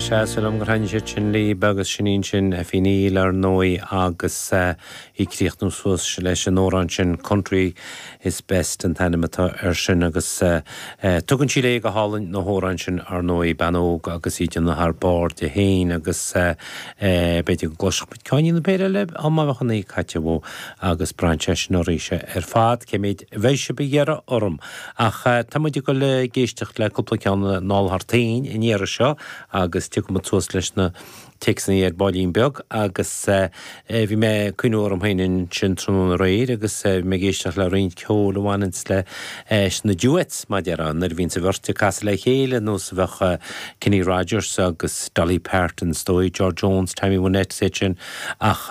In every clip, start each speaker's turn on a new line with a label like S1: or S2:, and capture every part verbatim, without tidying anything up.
S1: Sea, súil agam gur thaitnigh siad sin libh agus sin í ansin Effie Neill ar ndóigh agus í ag críochnú suas leis an amhrán sin Country is Best an t-ainm atá air sin agus tugann sí léi go hálainn na hamhráin sin ar ndóigh, bean óg agus í ag déanamh thar barr di féin agus b'fhéidir go gcloisfeadh muid ceainnín nó péire eile dá mbeadh an oíche caite uaidh agus braitheann sé sin oraibhse ar fad cé mhéid a bheidh sibh ag iarraidh orm. Ach tá muid ag dul ag éisteacht le cúpla ceann anall thar toinn an iarraidh seo agus tiocfaidh muid suas leis na téacsanna ar baillín beag agus bhí mé ag cuimhniú orm féin ansin tráthnóna aréir agus bhí mé ag éisteacht le roinnt ceoil a bhaineanns leis na duets, mar a déarfá, nuair a bhíonns an bheirt ag casadh le chéile, nós a bheadh Kenny Rogers agus Dolly Parton, is dóigh, George Jones, Tammy Wynette is iad sin. Ach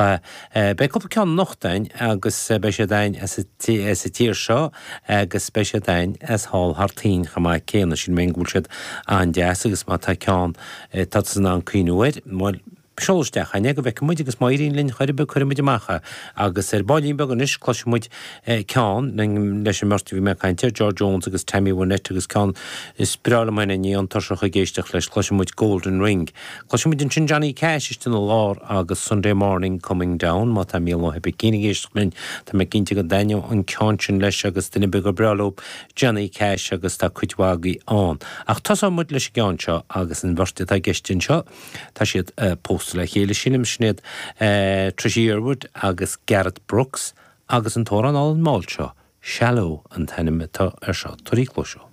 S1: beidh cúpla ceann anocht againn agus beidh siad againn as an tír seo agus beidh siad againn as thall thar toinn chomh maith céanna. Sílim féin go bhfuil siad an-deas agus má tá ceann atá tusa in ann cuimhniú air, bhuel, seol isteach chugainn é go bhfeicfidh muid agus má éiríonn linn chor ar bith cuirfidh muid amach é. Agus ar baillín beag anois cloisfidh muid ceann leis an mbeirt a bhí mé ag caint air, George Jones agus Tammy Wynette agus ceann is breá liom féin é, ní bheinn tuirseach ag éisteacht leis, cloisfidh muid Golden Ring. Cloisfidh muid ansin Johnny Cash istigh ina lár agus Sunday Morning Coming Down. Má tá Mícheál Ó hOibicín ag éisteacht linn, tá mé cinnte go dtaitneoidh an ceann sin leis agus duine ar bith gur breá leo Johnny Cash agus tá cuid mhaith agaibh ann. Ach tosóidh muid leis an gceann seo agus an bheirt atá i gceist anseo, tá siad pósta le chéile, sílim, sin iad Trisha Yearwood agus Garth Brooks agus an t-amhrán álainn mall seo, Shallow an t-ainm atá air seo. Tabhair cluas dó.